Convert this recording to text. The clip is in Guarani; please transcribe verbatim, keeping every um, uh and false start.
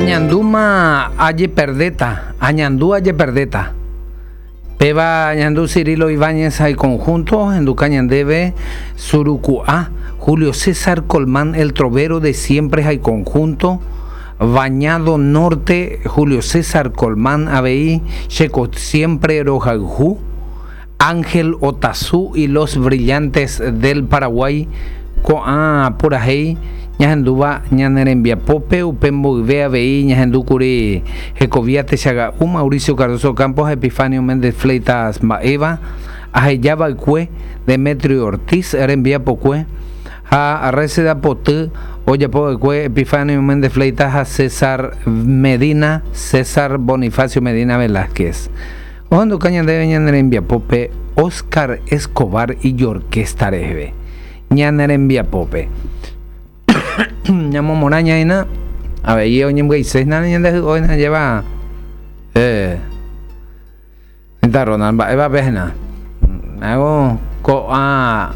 Añandúma ajeperdéta, añandu ajeperdéta. Péva ñandu Cirilo Ibáñez ha conjunto, henduka ñandéve Suruku'a, Julio César Colmán, El Trovero de Siempre ha conjunto, Bañado Norte, Julio César Colmán avei, Checo Siempre Rohayhu, Ángel Otazú y los Brillantes del Paraguay, ko'ã purahéi ñahendúva ñane rembiapópe upe mboyve avei ñahendúkuri hekovia techaga'u Mauricio Cardozo Campos, Epifanio Méndez Fleitas mba'éva, ahejava'ekue Demetrio Ortiz rembiapokue ha Reseda Poty ojapova'ekue Epifanio Méndez Fleitas ha César Medina, César Bonifacio Medina Velázquez. Ohenduka ñandéve ñane rembiapópe Oscar Escobar y orquesta reheve. Ñane rembiapópe. Ñamomorã ñaína avei oñembyaisésna ñande lleva eh Ronald mba'éva péhina hago ko'ã